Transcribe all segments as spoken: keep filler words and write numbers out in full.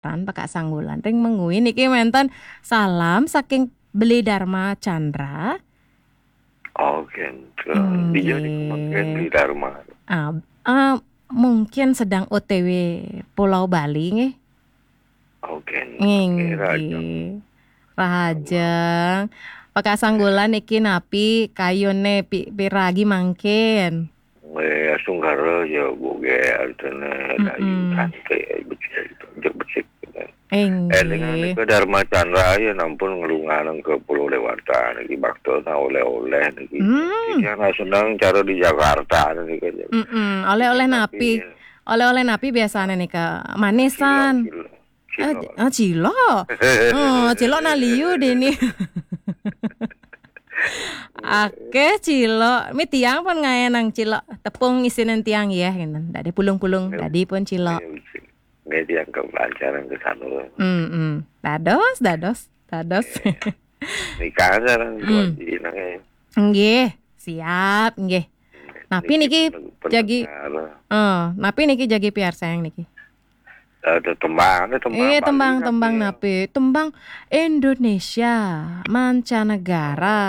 Tan Pekak Sanggulan ring Mengwi niki wenten salam saking Beli Dharma Chandra. Oh, kenten. Inggih. Dija niki mangkin Beli Dharma? Ah, ah, mungkin sedang O T W Pulau Bali nggih. Oh, kenten. Nggih, rahajeng. Rahajeng. Pekak Sanggulan niki napi kayune pi-, piragi mangkin? Nggih, astungkara ya, Bu, nggih, artine dayu santai, becik, becik, becik. Inggih. Eling nika Dharma Chandra ya nampun nglunganang ke Pulau Dewata niki, bakta oleh-oleh niki. Hmm. Iki ana seneng cara di Jakarta niki. Mm-mm. Oleh-oleh napi? Oleh-oleh napi biasane nika? Manisan. Cilok, cilok. Ah, cilok. Oh, cilok naliu dini. Akeh cilok. Mi tiang pun ngaenang cilok. Tepung isinen tiang ya, ngenten. Dadi pulung-pulung, dadi pun cilok. Nggih, tiang kelancaran ke sana. Hmm, hmm. Dados, dados, dados. Nikah sareng Tuan Cina, ya. Nggih, siap, nggih. Napi niki jagi, eh, napi niki jagi piarsayang niki? Ada tembang, ada tembang. Eh, tembang, tembang napi? Tembang Indonesia, mancanegara.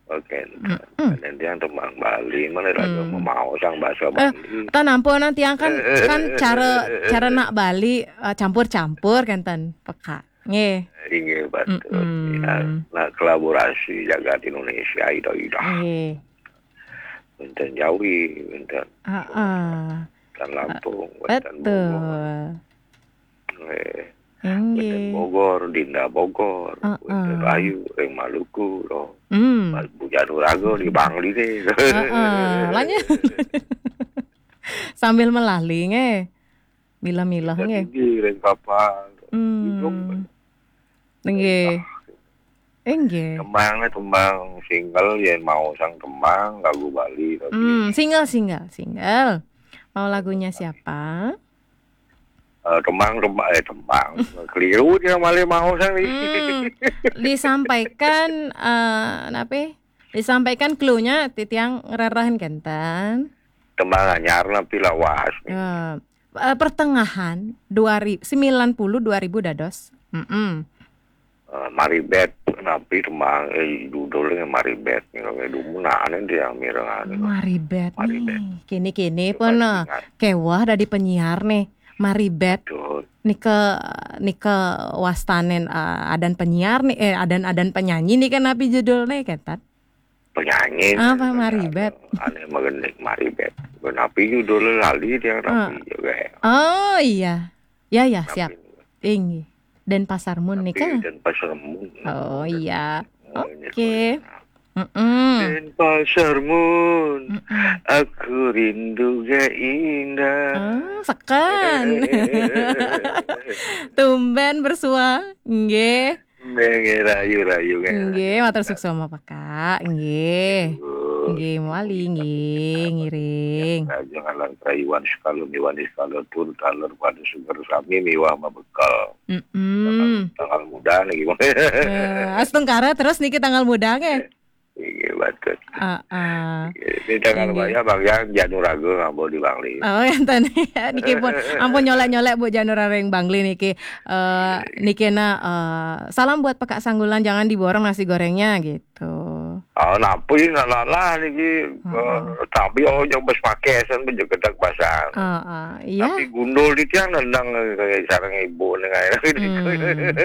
Oke. Dan yang tembang Bali, mana raga mau sang bahasa Bali. Tan ampun, tiang kan, kan cara, cara nak Bali, eh, campur-campur kan, Tan, peka. Nggih. Inggih, betul. Ya, nah, kolaborasi jagat Indonesia, ida-ida. Nggih. Wenten Jawi, wenten. Heeh. Wenten Lampung, wenten Bogor. Betul. Nggih. Inggih. Wenten Bogor, Dinda Bogor, wenten Rayu, ring Maluku, loh. Hmm. Bu Januraga di Bangli nih. Heeh, lanjut. Sambil melali nggih. Mila-mila nggih. Ring kapal. Hmm. Nggih. Inggih. Tembang, tembang single, yen mau sang tembang lagu Bali tapi. Hmm, single, single, single. Mau lagunya siapa? Uh, tembang, tembang, eh, tembang. Keliru dia malah mau sang ni. Hmm, disampaikan, uh, napi? Disampaikan clue-nya titiang ngrerahin kenten. Tembang anyar napi lawas. Uh, uh, pertengahan dua ribu, sembilan puluh dua ribu dados. Mm -mm. Uh, Maribet napi tembang, eh, judulnya Maribet nih, kalau dumun aneh dia yang mireng aneh. Maribet, Maribet. Nih. Kini-kini pun uh, kewah dari penyiar nih. Maribet. Nika, nika wastanen uh, adan penyiar nih, eh, adan-adan penyanyi nih kan napi judulnya ketat. Penyanyi. Apa Maribet? Aneh magenik Maribet. Napi judulnya lali dia napi juga. Oh iya. Ya, ya, siap. Inggih. Denpasar Mun nih kan? Denpasar Mun. Oh iya. Oke. Denpasar Mun. Aku rindu gak indah. Ah, sekan. Tumben bersuah. Nggih. Nggih, rayu-rayu nggih. Nggih, matur suksma Pak Kak. Nggih. Nggih, mawali nggih ngiring. Raja ngalang rayuan sekala miwani sekala tur taler pada suger sami miwah mabekal. Mm -mm. Tanggal muda niki. Eh, astungkara terus niki tanggal muda nggih. Inggih, betul. Heeh. Ini jangan lupa ya, Bang, yang Januraga ngambil di Bangli. Oh, enten. Niki pun ampun nyolek-nyolek Bu Januraga ring Bangli niki. Eh, niki na eh, salam buat Pekak Sanggulan, jangan diborong nasi gorengnya gitu. Oh, napi nak lalah niki. Heeh. Eh, tapi oh yang bes pakai sen pun jegedak basang. Heeh, iya. Tapi gundul di tiang nendang eh, sareng ibu dengan. Hmm.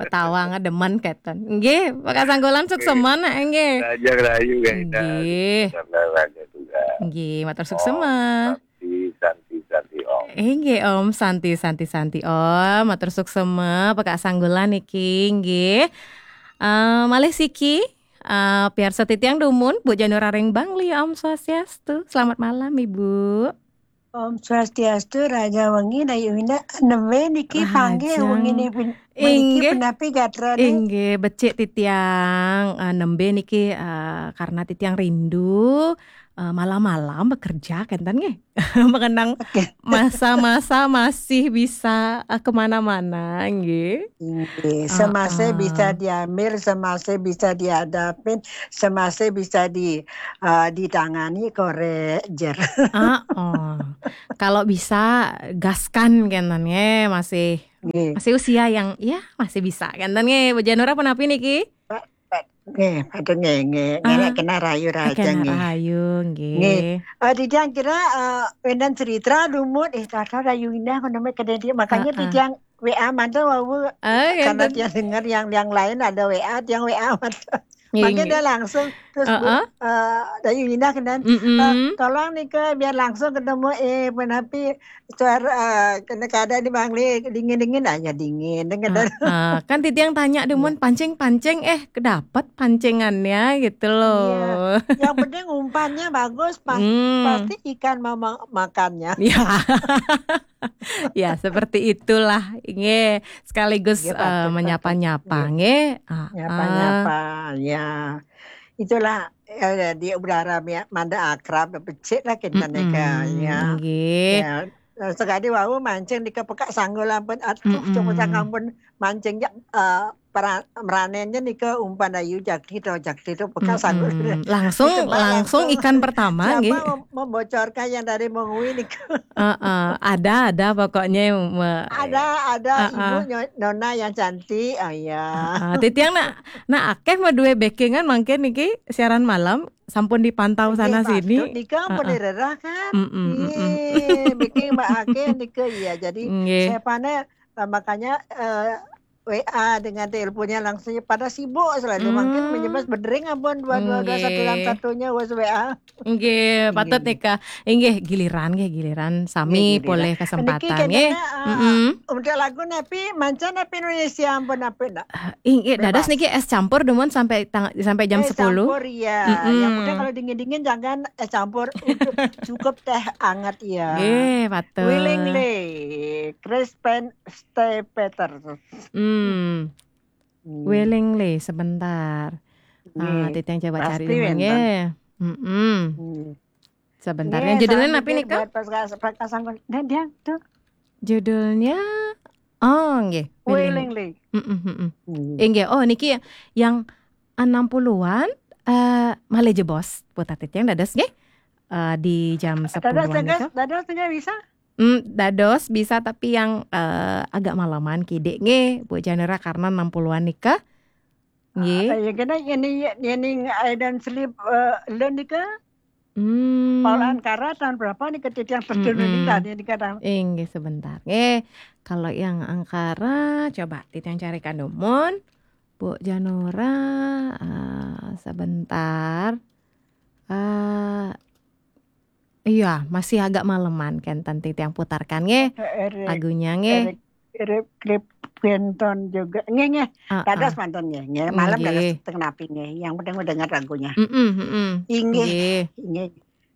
Ketawa ngedemen keten. Nggih, Pekak Sanggulan suksma nggih. Raja rayu nggih. Nggih. Raja juga. Nggih, matur suksma. Santi, santi, santi, Om. Inggih, Om. Santi, santi, santi, Om. Matur suksma, Pekak Sanggulan niki, nggih. Eh, malih siki, eh, piarsa titiang dumun, Bu Januraga ring Bangli, Om Swastiastu. Selamat malam, Ibu. Om Swastiastu, Raja Wengi, Dayu Winda, nembe niki panggih wengi niki punapi gatra nih. Inggih, becik titiang, eh, nembe niki, eh, karena titiang rindu, eh, malam-malam bekerja, kenten nggih. Mengenang masa-masa masih bisa, eh, kemana-mana, nggih. Inggih, semasa bisa diambil, semasa bisa dihadapin, semasa bisa di, eh, ditangani, korek, jer. Ah, oh. Kalau bisa, gaskan, kenten nggih, masih Nggih. Masih usia yang, ya, masih bisa. Kan, nggih, Bu Janura pun api niki? Nggih, aduh, nggih, nggih. Nggih, ah, kena rayu raja, kena nggih. Rayu, nggih. Nggih. Eh, di tiang kira, eh, wénten cerita lumut, eh, tata rayu indah, kono mé kedé dia. Makanya di tiang W A manten wau, karena dia dengar yang, yang lain ada W A, tiang W A manten. Nggih, makanya dia langsung, terus, Bu, eh, rayu indah kenen, eh, tolong nih, Kak, biar langsung ketemu, eh, menapi suara, eh, kena keadaan di Bangli, dingin-dingin aja, dingin, dengar. Heeh. Kan titiang tanya, "Dumun pancing-pancing, eh, kedapat pancingannya," gitu loh. Iya. Yang penting umpannya bagus, pas-, pasti ikan mau ma-, makannya. Ya. Ya, seperti itulah. Nggih, sekaligus, eh, menyapa-nyapa, nggih. Nggih. Menyapa-nyapa, ya. Itulah, eh, di udara mi-, manda akrab, becik lah kita nika, ya. Nggih. Ya, sekali wau mancing di kepekak sanggul ampun, aduh, coba ampun mancing, ya, eh, para-, meranennya nika umpan ayu jakti to, jakti to, pekak sanggul. Langsung, langsung ikan pertama, siapa nggih, mem-, membocorkan yang dari mengui nika? Heeh, ada, ada pokoknya me-, ada, ada, heeh. Ibu nyo-, nona yang cantik, oh ya. Heeh, titiang nak, nak akeh mah dua backingan mangkin niki siaran malam, sampun dipantau sana sini. Nggih, patut nika ampun direrah kan? Nggih, backing Mbak akeh nika, iya. Jadi, nggih, siapane, eh, makanya, eh, W A dengan teleponnya langsung pada sibuk selalu. Mungkin menyebas bedering ampun dua dua dua satu enam satunya wes W A. Nggih, patut nika. Inggih, giliran, nggih, giliran sami polih kesempatan, nggih. Niki kene, eh, untuk lagu napi, manca napi Indonesia ampun napi ndak? Inggih, dados niki es campur dumun sampai tang-, sampai jam sepuluh. Es campur, iya. Yang penting kalau dingin-dingin jangan es campur, cukup teh anget, ya. Nggih, patut. Willingly, Chris Pen-, Stay Peter. Hmm. Willingly, sebentar. Ah, nggih. Titiang coba cari wénten. Nggih. Mm-mm. Nggih. Sebentar. Nggih, yang judulnya apa nih, Kak? Buat pas, pas, pas kasang, nah, dia tuh. Judulnya, oh, nggih. Willing. Willingly. Mm-mm, mm-mm. Nggih. Inggih. Oh, niki yang enam puluhan, eh, malih jebos. Buat titiang dados, nggih. Eh, di jam sepuluhan nika. Dados, dados, dados, nggih, bisa? Hmm, dados bisa, tapi yang, eh, agak maleman kidik nggih, Bu Janura, karena enam puluhan nika. Nggih. Ah, ya kena ini, ini I Don't Sleep, eh, Alone nika. Hmm. Paul Ankara tahun berapa nih, titiang terjun ini tadi nih kadang. Inggih, sebentar. Eh, kalau yang Ankara, coba titiang carikan dumun. Bu Janura, eh, sebentar. Eh, iya, masih agak maleman kan, titiang putarkan nggih. Eric, lagunya nggih. Eric, Eric Clapton juga. Nggih, nggih. Ah, dados ah. Manten nggih. Nggih, malam dados nggih. Teng napi nggih. Yang penting mendengar lagunya. Mm-mm, mm-mm. Inggih. Nggih. Inggih.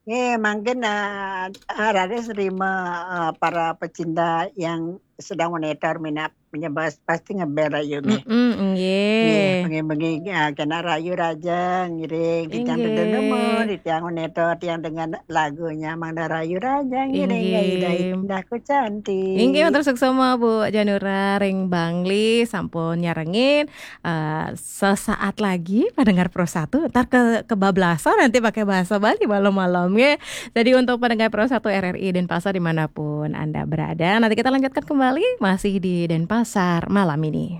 Nggih, mangkin, eh, eh, raris nerima, eh, para pecinta yang sedang monitor minat menyebas pasti ngebel rayu nggih. Mm-mm, nggih. Nggih, bengi-bengi, eh, kena rayu raja ngiring, titiang inggih. Duduk nemu, titiang monitor, tiang dengan lagunya Mangda Rayu Raja ngiring, inggih. Indah, indah ku cantik. Inggih, matur suksma Bu Janura ring Bangli sampun nyarengin. Eh, sesaat lagi pendengar Pro satu, ntar ke, kebablasan nanti pakai bahasa Bali malam-malam, ya. Jadi untuk pendengar Pro satu R R I Denpasar dimanapun Anda berada, nanti kita lanjutkan kembali masih di Denpasar malam ini.